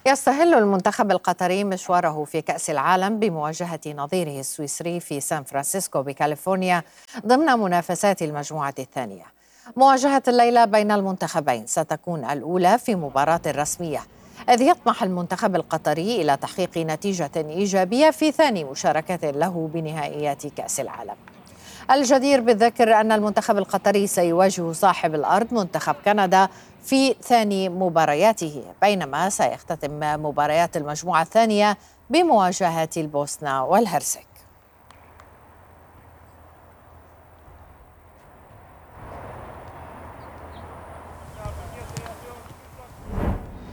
يستهل المنتخب القطري مشواره في كأس العالم بمواجهة نظيره السويسري في سان فرانسيسكو بكاليفورنيا ضمن منافسات المجموعة الثانية. مواجهة الليلة بين المنتخبين ستكون الأولى في مباراة رسمية، إذ يطمح المنتخب القطري إلى تحقيق نتيجة إيجابية في ثاني مشاركة له بنهائيات كأس العالم. الجدير بالذكر أن المنتخب القطري سيواجه صاحب الأرض منتخب كندا في ثاني مبارياته، بينما سيختتم مباريات المجموعة الثانية بمواجهة البوسنة والهرسك.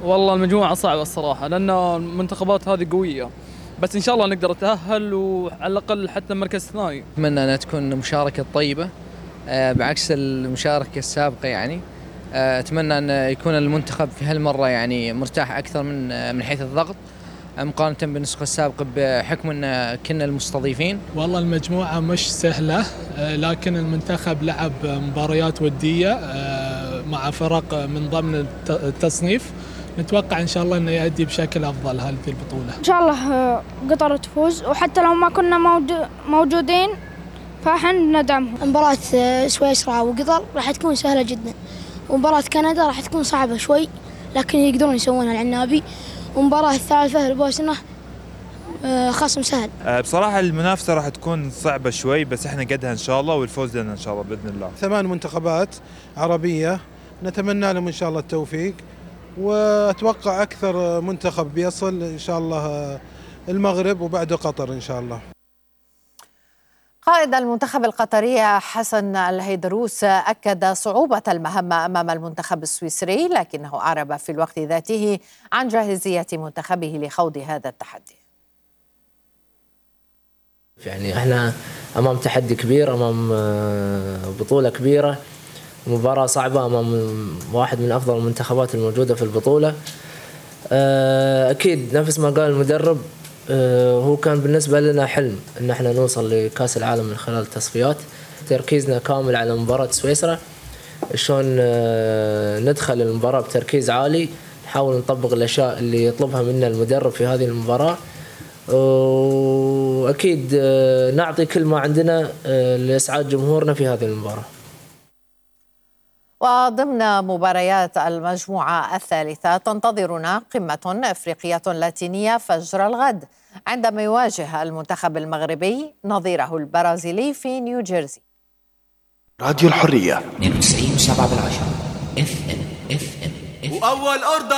والله المجموعة صعبة الصراحة، لأن المنتخبات هذه قوية، بس إن شاء الله نقدر نتأهل وعلى الأقل حتى المركز الثاني. أتمنى أنها تكون مشاركة طيبة بعكس المشاركة السابقة. يعني أتمنى أن يكون المنتخب في هالمرة يعني مرتاح أكثر من حيث الضغط مقارنة بالنسخة السابقة، بحكم أن كنا المستضيفين. والله المجموعة مش سهلة، لكن المنتخب لعب مباريات ودية مع فرق من ضمن التصنيف. نتوقع إن شاء الله أنه يؤدي بشكل أفضل هذه البطولة. إن شاء الله قطر تفوز، وحتى لو ما كنا موجودين فاحنا ندعمهم. مباراة سويسرا وقطر راح تكون سهلة جدا، ومباراة كندا راح تكون صعبة شوي لكن يقدرون يسوونها العنابي، ومباراة الثالثة البوسنة خصم سهل. بصراحة المنافسة راح تكون صعبة شوي، بس احنا قدها إن شاء الله، والفوز لنا إن شاء الله بإذن الله. 8 منتخبات عربية نتمنى لهم إن شاء الله التوفيق، وأتوقع أكثر منتخب بيصل إن شاء الله المغرب وبعده قطر إن شاء الله. قائد المنتخب القطري حسن الهيدروس أكد صعوبة المهمة أمام المنتخب السويسري، لكنه أعرب في الوقت ذاته عن جاهزية منتخبه لخوض هذا التحدي. يعني احنا أمام تحدي كبير، أمام بطولة كبيرة، مباراة صعبة أمام واحد من أفضل المنتخبات الموجودة في البطولة. أكيد نفس ما قال المدرب، هو كان بالنسبة لنا حلم إن احنا نوصل لكأس العالم من خلال التصفيات. تركيزنا كامل على مباراة سويسرا، شلون ندخل المباراة بتركيز عالي، نحاول نطبق الأشياء اللي يطلبها منا المدرب في هذه المباراة، وأكيد نعطي كل ما عندنا لإسعاد جمهورنا في هذه المباراة. وضمن مباريات المجموعة الثالثة تنتظرنا قمة أفريقية لاتينية فجر الغد، عندما يواجه المنتخب المغربي نظيره البرازيلي في نيوجيرسي. راديو الحرية 92.7 FM. وأول أرض